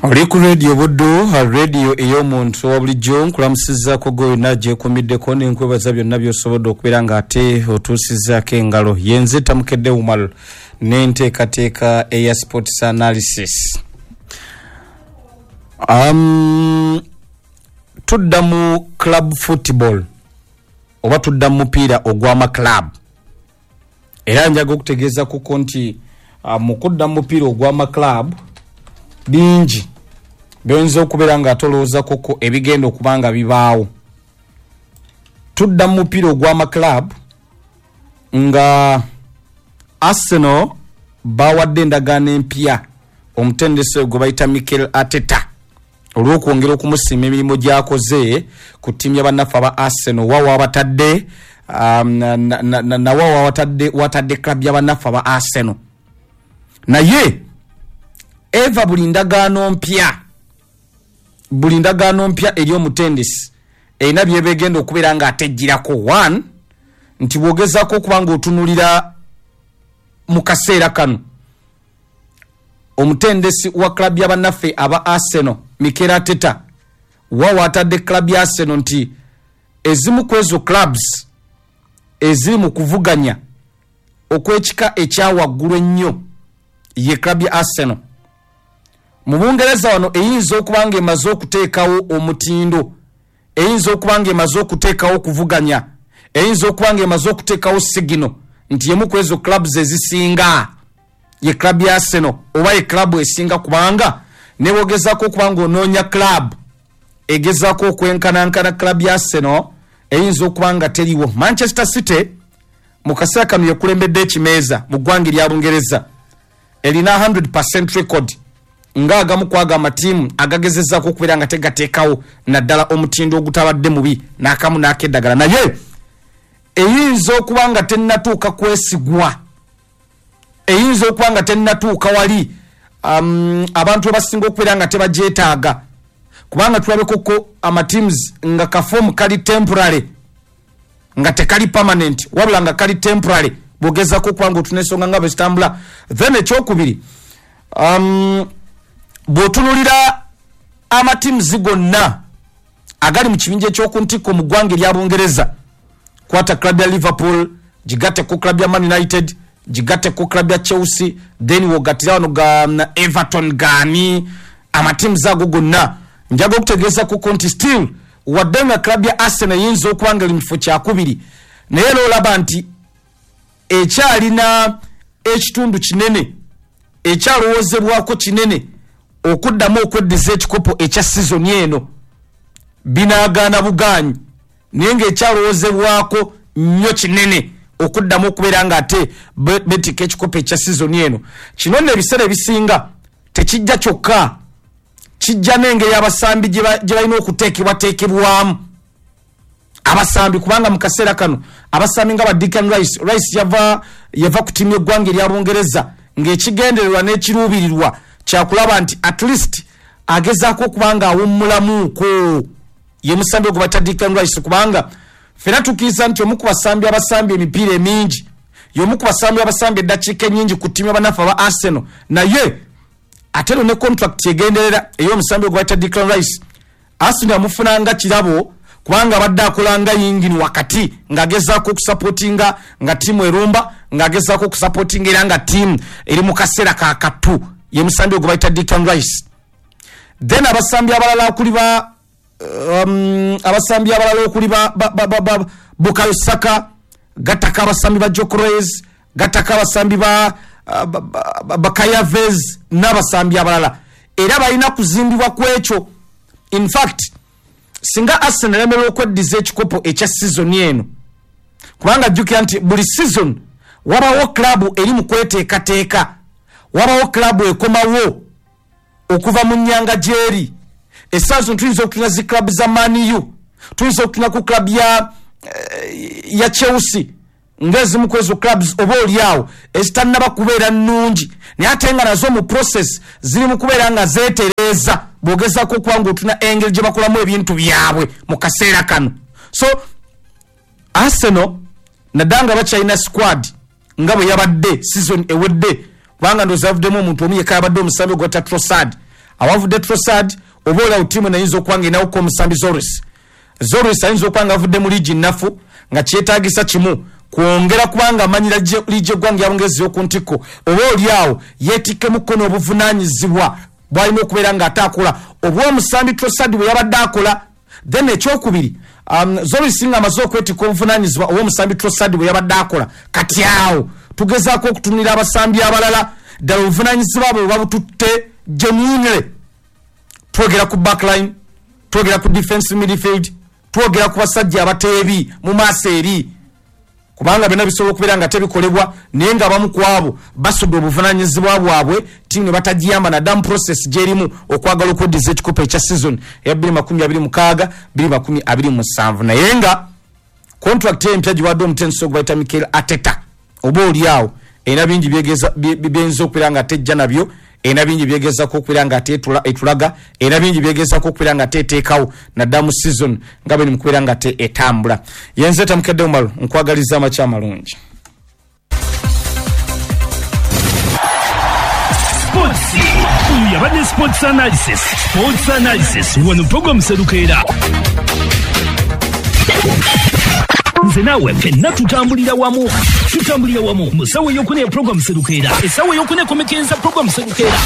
Oli ku Radio Buddu, radio ey'omuntu wa bulijjo. Nkulamusizaako gwe yonna gyekumiddeko, nenkwebaza byonna by'osobodde okubeera ng'ate otuusizaako engalo. Yenze Tamukedde Umar n'enteekateeka eya sports analysis. Tudda mu club football oba tudda mu mupiira ogw'amaclub, era njaga okutegeeza kuko nti mu kudda mu mupiira ogw'amaclub bingi byoyinza okubeera nga atolowooza koko ebigenda okuba nga bibaawo. Tudda mu mupiira ogw'amaclub nga Arsenal bawadde endagaano empya omutendesi gwe bayita Mikel Arteta olw'okwongera okumusiima emirimu gy'akoze ku ttiimu y'abannaffe aba Arsenal, wa wabatadde nawa wabatadde watadde club y'abannaffe aba Arsenal. Naye eva buli ndagaano mpya, buli ndagaano mpya eri omutendesi erina byebegenda okubeera ng'atejjirako. One, nti bw'ogezaako okuba ng'otunulira mu kaseera kano omutendesi wa club y'abannaffe aba Arsenal Mikel Arteta wa waatadde club ya Arsenal, nti ezimu ku ezo clubs eziri mu kuvuganya okw'ekika ekyawaggulu ennyo ye club ya Arsenal. Mu Bungereza wano eyinza okuba nga emaze okuteekawo omutindo, eyinza okuba nga emaze okuteekawo okuvuganya, eyinza okuba nga emaze okuteekawo signal nti yemu ku ezo clubs ezisinga ye club ya Arsenal oba ye club esinga, kubanga nebwogezaako okuba nga onoonya club egezaako okwenkanankana club ya Arsenal eyinza okuba nga teriwo. Manchester City mu kaseera kano yekulembedde ekimeeza mu ggwanga erya Bungereza, erina 100% record ng'agamu kwago amatiimu agagezezzaako okubeera nga tegateekawo naddala omutindo ogutabadde mubi n'akamu n'akeddagala, naye eyinza okuba nga tennatuuka kwesigwa, eyinza okuba nga tennatuuka wali abantu abasinga okubeera nga tebagyetaaga, kubanga tulabekoko amateams nga kafomu kali temporary, nga tekali permanent, wabula nga kali temporary bwogezako okuba nga otuna ensonga nga bwe zitambula. Then ekyokubiri, bw'otunulira amateams gonna agali mu kibinja ekyokuntikko mu ggwanga erya Bungereza, kwata club ya Liverpool, gigatte ku club ya Man United, gigatte ku club ya Chelsea, then wogattira wano ga Everton, gaani amateams ago gonna, njaga okutegeeza kuko nti still wadde nga club ya Arsenal eyinza okuba nga eri mu kifo kyakubiri, naye era olaba nti ekyalina ekitundu kinene ekyalowoozebwako kinene okuddamu okweddiza ekikopo ekya sizoni eno. Binaagaana bugaanyi, naye ng'ekyalowoozebwako nnyo kinene okuddamu okubeera ng'ate betikka ekikopo ekya sizoni eno. Kino nno ebiseera ebisinga tekijja kyokka, kijja n'engeri abasambi gye balina okuteekebwateekebwamu abasambi, kubanga mu kaseera kano abasambi nga ba Declan Rice, Rice yava ku ttiimu y'eggwanga erya Bungereza ng'ekigendererwa n'ekiruubirirwa kyakulaba nti at least agezaako okuba nga awummulamuuko. Ye musambi ogwo bayita Declan Rice, kubanga ffena tukkiriza nti omu ku basambi abasambi emipiira emingi, y'omu ku basambi abasambi eddakiika ennyingi ku ttiimu y'abannaffe aba Arsenal, naye ate ero ne contract egenderera ey'omusambi ogwo bayita Declan Rice, Arsenal yamufunanga kirabo kubanga abadde akola nga yingini wakati ng'agezaako okusapootinga nga ttiimu erumba, ng'agezaako okusapootinga era nga ttiimu eri mu kaseera kakatu. Ye musambi ogwo bayita Declan Rice. Then abasambi abalala okuli ba abasambi abalala okuli ba Bukayo Saka, gattako abasambi ba Gyökeres, gattako abasambi ba Kai Havertz n'abasambi abalala, era balina kuzimbibwa ku ekyo. In fact, singa Arsenal eremerwa okweddiza ekikopo ekya sizoni eno, kubanga jjukira nti buli season wabawo club eri mu kweteekateeka, wabawo club ekomawo okuva mu nnyanga gy'eri. Essaawa zino tuyinza okutuna zi club za Man U, tuyinza okutuna ku club ya Chelsea ng'ezimu ku ezo clubs oba oli awo ezitannaba kubeera nnungi, naye ate nga nazo mu process ziri mu kubeera nga zeetereeza bw'ogezaako okuba ng'otuna engeri gye bakolamu ebintu byabwe mu kaseera kano. So Arsenal naddala nga bakyalina squad nga bwe yabadde season ewedde, kubanga ndowooza yavuddemu omuntu omu yekka, yabadde omusambi ogwa Trossard. Awavudde Trossard, oba olyawo ttiimu nayinza okuba nga enawuka omusambi Zoris. Zoris ayinza okuba nga avudde mu liigi nnafu, nga kyetaagisa kimu kwongera kubanga amanyira liigi eggwanga ya Bungereza ey'oku ntikko, oba oliawo yeetikkemukko n'obuvunaanyizibwa bwalina okubeera ng'ate akola obw'omusambi Trossard bwe yabadde akola. Then ekyokubiri, Zoris nga amaze okwetikka obuvunaanyizibwa obw'omusambi Trossard bwe yabadde akola, kati awo tugezaako okutunulira abasambi abalala ddala obuvunaanyizibwa bwe babututte genuinely. Twogera ku backline, twogera ku defense midfield, twogera ku basajja abateebi mu maaso eri, kubanga byonna bisobola okubeera nga tebikolebwa, naye nga abamu ku abo basudde obuvunaanyizibwa bwabwe, ttiimu ne batagiyamba naddamu process gyerimu okwagala okweddiza ekikopo ekya season eya 2026 2027. Naye nga contract empya giwadde omutendesi ogwo bayita Mikel Arteta, oba oli awo erina bingi byeyinza okubeera nga tejja nabyo, erina bingi byegezako okubeera nga ate etulaga, erina bingi byegezako okubeera nga ate eteekawo naddala mu season nga bwe mukubeera nga te etambula. Yenze Tamukedde Umalo, nkwagaliza amakya amalungi. Sports. Oyo yabadde Sports Analysis. Sports Analysis wano program Serukeera. Nze naawe ffenna tutambulira wamu, tutambulira wamu mu ssaawa ey'okuna ya program Serukeera, essaawa ey'okuna ekomekereza program Serukeera.